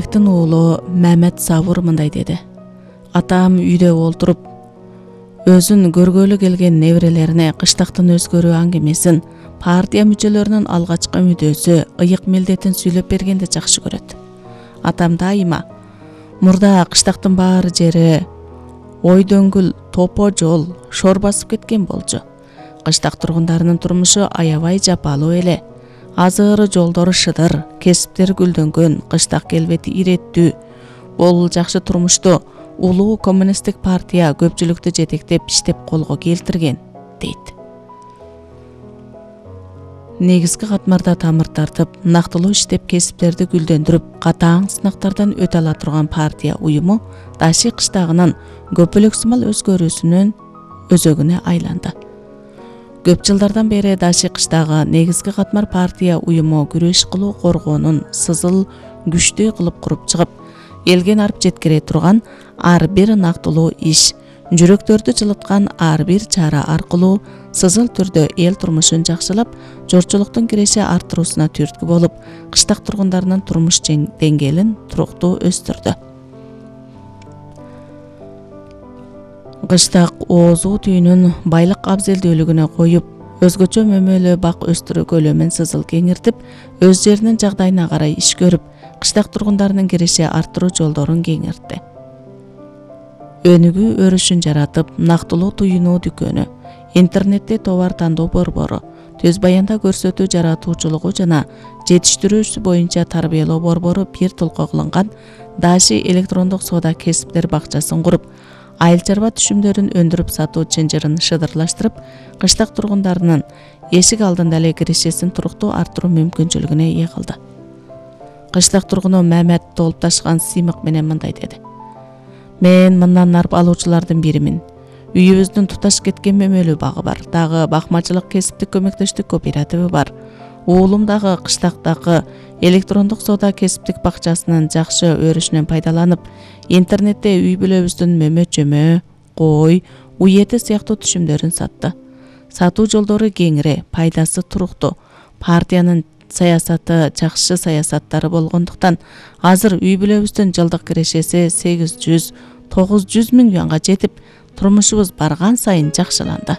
Уулу Мамет Сабур мындай деди. Атам үйдө олтуруп өзүн көргөлү келген неберелерине кыштактын өзгөрүү аңгемесин, партия мүчөлөрүнүн алгачкы мүдөөсү, ыйык милдетин сүйлөп бергенди жакшы көрөт. Атам дайыма мурда кыштактын баары жери ой дөңгүл, топо жол, шор басып кеткен болчу. Кыштак тургундарынын турмушу аябай жапалуу эле. Азыры жолдору шыдыр, кесиптери гүлдөнгөн, кыштак келбети иреттүү. Бул жакшы турмушту улуу коммунисттик партия көпчүлүктү жетектеп иштеп колго келтирген, дейт. Негизги катмарда тамыр тартып, нактылуу иштеп кесиптерди гүлдөндүрүп, катаң сынактардан өтө ала турган партия уюму Даши кыштагынын көпөлөксүмал өзгөрүүсүнүн өзөгүнө айланды. Көп жылдардан бери Даши кыштагы негизги катмар партия уюму күрөш кылуу коргоонун сызыл күчтүү кылып куруп чыгып, элге арып жеткире турган ар бир нактылуу иш, жүрөктөрдү жылыткан ар бир чара аркылуу сызыл түрдө эл турмушун жакшылап, жорчулуктун киреше арттыруусуна түрткү болуп, кыштак тургундарынын турмуш деңгээлин туруктуу өстүрдү. Кыштак оозу түйүнүн байлык абзелдүүлүгүнө коюп, өзгөчө мөмөлүү бак өстүрүү көлөмүн сызыл кеңиртип, өз жеринин жагдайына карай иш көрүп, кыштак тургундарынын киреше арттыруу жолдорун кеңиртти. Өнүгүү өрүшүн жаратып, нактылуу туюнуу дүкөнү, интернетте товар тандоо борбору, төз баянда көрсөтүү жаратуучулугу жана жетиштирүүсү боюнча тарбиялоо борбору бир толко кылынган Даши электрондук соода кесиптер бакчасын куруп, айыл чарба түшүмдөрүн өндүрүп сатуу чынжырын шыдырлаштырып, кыштак тургундарынын эшик алдында эле кирешесин туруктуу арттыруу мүмкүнчүлүгүнө ээ кылды. Кыштак тургуну Мамет толуп ташкан сыймык менен мындай деди. Мен мындан арып алуучулардын биримин. Үйүбүздүн туташ кеткен мөмөлүү багы бар. Дагы бакмачылык кесиптик көмөктөштүк кооперативи бар. Уулум дагы кыштактагы электрондук соода кесиптик бакчасынын жакшы өрүшүнөн пайдаланып, интернетте үй бүлөбүздүн мөмө-чөмө, кой, уй эти сыяктуу түшүмдөрүн сатты. Сатуу жолдору кеңире, пайдасы туруктуу. Партиянын саясаты жакшы саясаттары болгондуктан, азыр үй бүлөбүздүн жылдык кирешеси 800–900 миң юанга жетип, турмушубуз барган сайын жакшыланды.